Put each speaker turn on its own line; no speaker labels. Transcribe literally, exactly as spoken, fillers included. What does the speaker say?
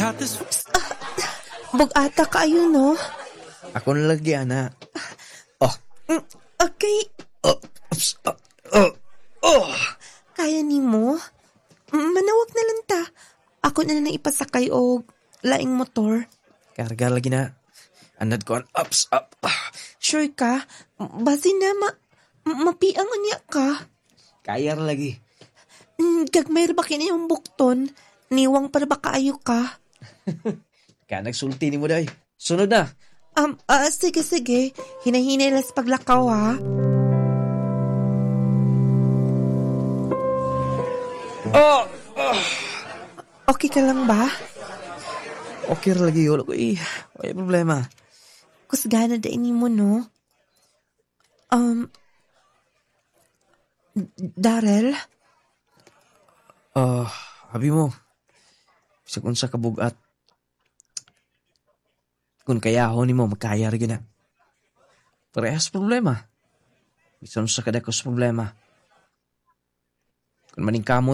Got this
Bug-ata kaayo, no?
Ako na lagi, ana. Oh,
Mm, Okay,
oh, oops, oh, oh, oh.
Kaya nimo? Mm, Manawag na lang ta. Ako na lang ipasakay og laing motor.
Karga lagi na. Anad ko ang ups, up. Ah.
Sure ka? Basi na ma mapiang unya ka.
Kaya ra lagi.
Mm, Gagmay ra ba kini yung bukton? Niwang para ba kaayo ka?
Kaya nagsulti nimo day. Sunod na.
Um, ah, sige, sige. Hinahinay las paglakaw, ha?
Oh,
Okay ka lang ba?
okay ra lagi. Wala ko eh. Wala problema.
Kusgana da ini mo, no? Um, Darrell?
Ah, habi mo. Bisag unsa ka bugat. Kung kayahon nimo makaya ra gyud na. Parehas problema. Bisan unsa ka dako sa problema. Kung maningkamot